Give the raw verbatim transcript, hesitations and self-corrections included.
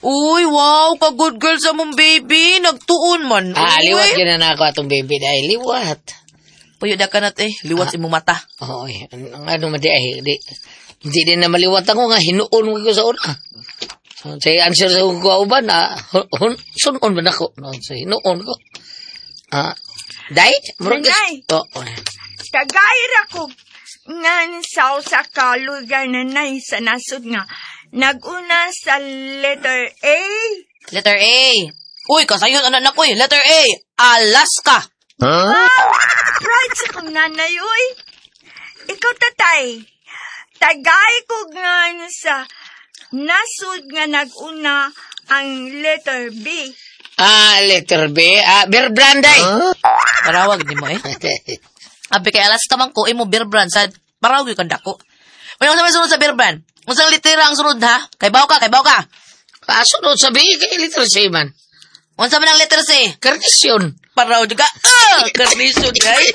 Uy, wow, ka good girl sa mong baby. Nagtuon man. Ah, Uy. liwat yun na ako atong baby dahil liwat. Puyo da ka na eh. Liwat imong mata. Oo, eh. Ang ano man di ay, di, hindi din na maliwat ako nga, hinuon ko sa una. So, say answer sa akong kauban, ah, hun, hun, sunon man ako. No, so, hinuon ko. Ah, day? Murag- Nanay. Oo. Tagay ra ko ngan sa usa ka lugar nanay sa nasod nga naguna sa letter A. Letter A. Uy, kasayon anak na ko eh. Letter A. Alaska. Proud sa kong nanay, uy. Ikaw, tatay. Tagay ko ngan sa nasod nga naguna ang letter B. Ah, letter B. Ah, beer brand day. Parawag di mo eh. Abi kay Alaska man ko, imo beer brand. Sa parawag yung dako. Uy, unsa may sunod sa beer brand? Unsang litera ang sunod ha? Kay baw ka, kay baw ka. Ah, sunod sa B, kay letter C man. Unsa man ang letter C? Carnation. Paraw juga. Ah, carnation guys.